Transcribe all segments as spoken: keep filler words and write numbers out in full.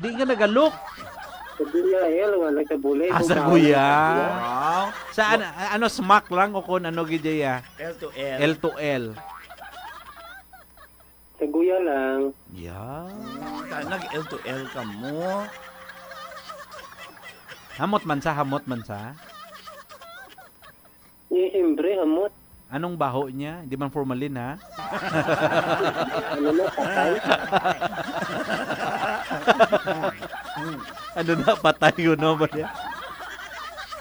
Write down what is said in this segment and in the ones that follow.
Hindi ka nagalok. Sa Guya, eh, alam nga, nagkabulay. Ah, sa Guya. Wow. Saan, a-, ano, smack lang o kung ano, gid ya? L to L. L to L. Sa Guya lang. Yeah. Mm, ta-, nag-L to L ka mo. Hamot man sa, hamot man sa. Eh, siyempre, hamot. Anong baho niya? Hindi man formalin, ha? Ano na, patay? Ano na, patay yun, no? Ba niya?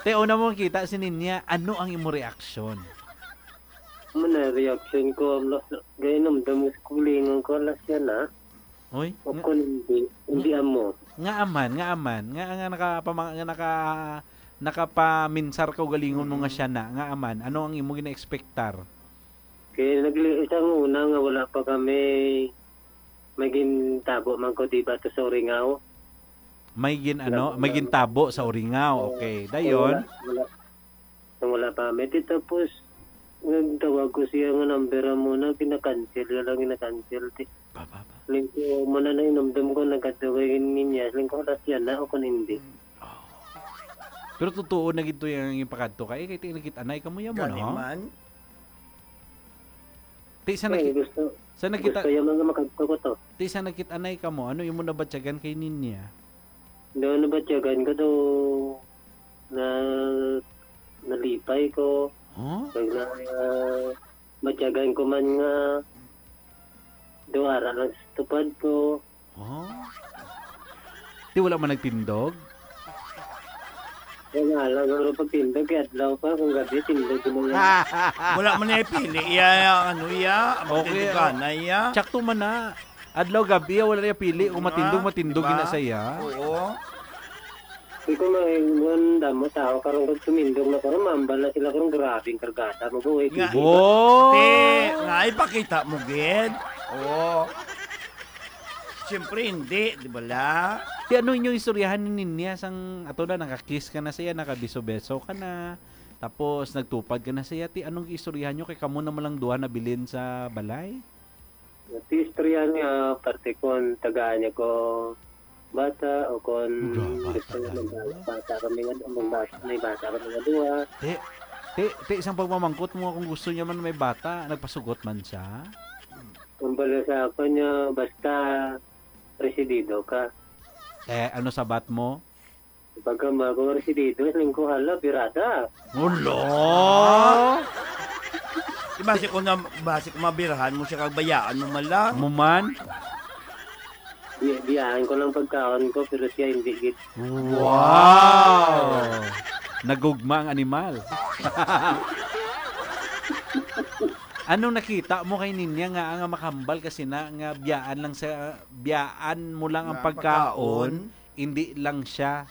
Te, una mo kita si Ninya, ano ang imo reaksyon? Ano na, reaction ko, las-, gaya nung damus kulingan ko, alas yan, ha? Oy, O nga, kung hindi, hindi nga, amo. Nga aman, nga aman, nga, nga nakapama-, nga naka-, nakapaminsar ka ugalingon mo nga Mm. siya na, nga aman, ano ang imo gina-expectar? Kay nagli-, isang una nga wala pa kami, may gintabo man ko, di ba, to sa Uringaw? May gin-, ano, Nag-, may nag-, gintabo sa Uringaw. Oo. Okay, Wala, dayon? wala. Nang wala pa kami. Di tapos, nagtawag ko siya nga number mo na, gina-cancel, yun lang gina-cancel. Di, Ba, ba, ba? Lingko, mo na nang inumdum ko, nagkadto kay Ninya. Lingko, alas yan na, o kung hindi. Oh. Pero totoo na gid to yung ipakadto ka. Eh, kay ti-, nakit-anay ka mo yan mo, Gani no? man. Ti, sa Eh, nakit-, gusto, sa nakita-, gusto yung mga makadto ko to. Ti, sa nakit-anay ka mo, ano yung mo nabatyagan kay Ninya? Daw nabatyagan ko daw na nalipay ko. Huh? Kag na, batyagan ko man nga daw ara lang sa tupad ko. Huh? Ti wala man nagtindog? Kaya nga lang, ang pagtindog kay adlaw pa, kung gabi, tindog mo yan. Wala man niya pili, iya, iya, ano, iya, ang Okay, pagtindog oh. ka na, iya. Tsakto man na. Adlaw, gabi, ah, wala niya pili. Kung matindog, Ah, matindog, di ba? Ginasaya. Oo. Di ko may, man, damo tao, karong pag tumindog na, karong mambal na sila, karong grabing kargada mo, buhay, Nga, pili. Oh! te, nga, ipakita mo, gid. Oo. Siyempre, hindi, di ba la? Di ano inyong istoryahan ni Ninya sang ato na, nakakiss ka na siya, nakabiso-beso ka na, tapos nagtupad ka na siya. Ti, anong istoryahan nyo? Kay kamo naman lang duha nabilin sa balay? Ti istoryahan nga, parte kon tagaan niya ko bata o kon Ura, bata gusto niya talaga. Magbata kami nga, magbata, may bata kami nga duha. Ti, ti, ti, isang pagmamangkot mo kung gusto niya man may bata, nagpasugot man siya? Ang bala sa ako niya, basta residido ka. Eh, ano sabat mo? Pagka mga residido, lingko hala, birada. Ulo! Di basi ko na, basi ko mabirahan mo siya, kag bayaan mo man lang. Mo man? Bi-, biyaan ko lang pagkaon ko, pero siya hindi gid. Wow! Nagugma ang animal. Anong nakita mo kay Ninya nga, nga makambal kasi na, nga biyaan lang sa, biyaan mo lang ang Nga ang pagkaon, pagkaon. Hindi lang siya.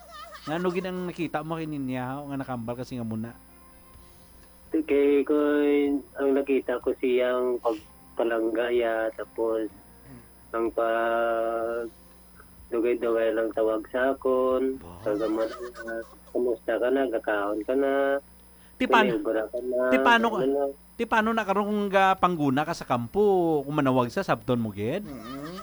Ngano gid ang nakita mo kay Ninya, nga nakambal kasi nga muna? Kay ko, ang nakita ko siyang pagpalangga ya, tapos ang pag dugay-dugay lang tawag sa akon. Ba? Kag amo na, "Kumusta ka na? Gakaon ka na? Ti paano, Naligo na ka na?" ti paano, Ano na? ti paano na karon kung gapangguna ka sa kampo? Kung manawag sa, sabton mo gid? Mm.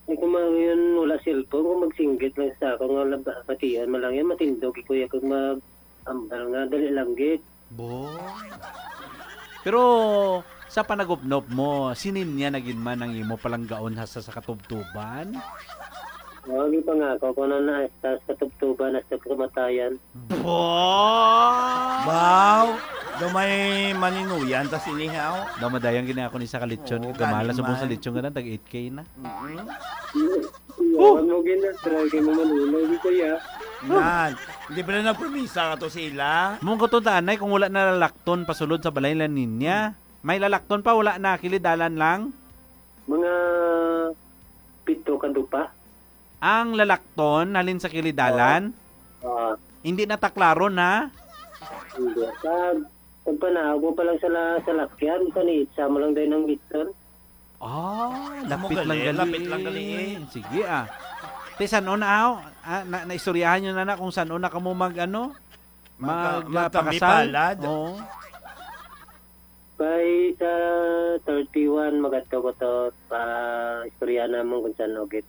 Eh, kung mga yun, wala cellphone, kung magsinggit lang sa akon nga laba-, batian man lang yan, matindog, ikuya, kag mag-, ambal nga, dali lang gid. Bo. Pero sa panagupnop mo, si Ninya na gid man ang imo palanggaon hasta sa katubtuban? Wag ipangako ko na na hasta sa katubtuban, hasta sa kamatayan. Bo! Wow! Daw may maninuyan ta sini, haw? Daw madayang gini ako ni sa kalitsyon. Oo, Gamala gani sa buong sa man. Litsyon nga lang, tag eight K na. Mm-hmm. Iya, Oh! Wag mo gina-try kay mo manunod, di kuya. Yan. Hindi pala nagpromisa ka to sila? Mong ko to, tanay, kung wala na lalakton pasulod sa balay la Ninya. May lalakton pa, wala na, kilidalan lang? Mga pito ka dupa. Ang lalakton, halin sa kilidalan? Oo. Oo. Hindi na taklaron, ha? Hindi. Pag, pagpanaog mo pa lang sa la-, sa lakyan, paniitsa mo lang dahil ng gitson. Ah, Amo lapit lang gali, gali. lapit lang gali, eh. Sige, ah. Te, san-o na, ah? Ah, na, naistoryahan nyo na na kung san-o na kamo mag, ano? Magka-, Mag, ah, magkambi pakasal? palad. Oo. Kay sa thirty-one, magadto ko to, pa istorya namon kung san-o gid.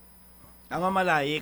Ang mamalayi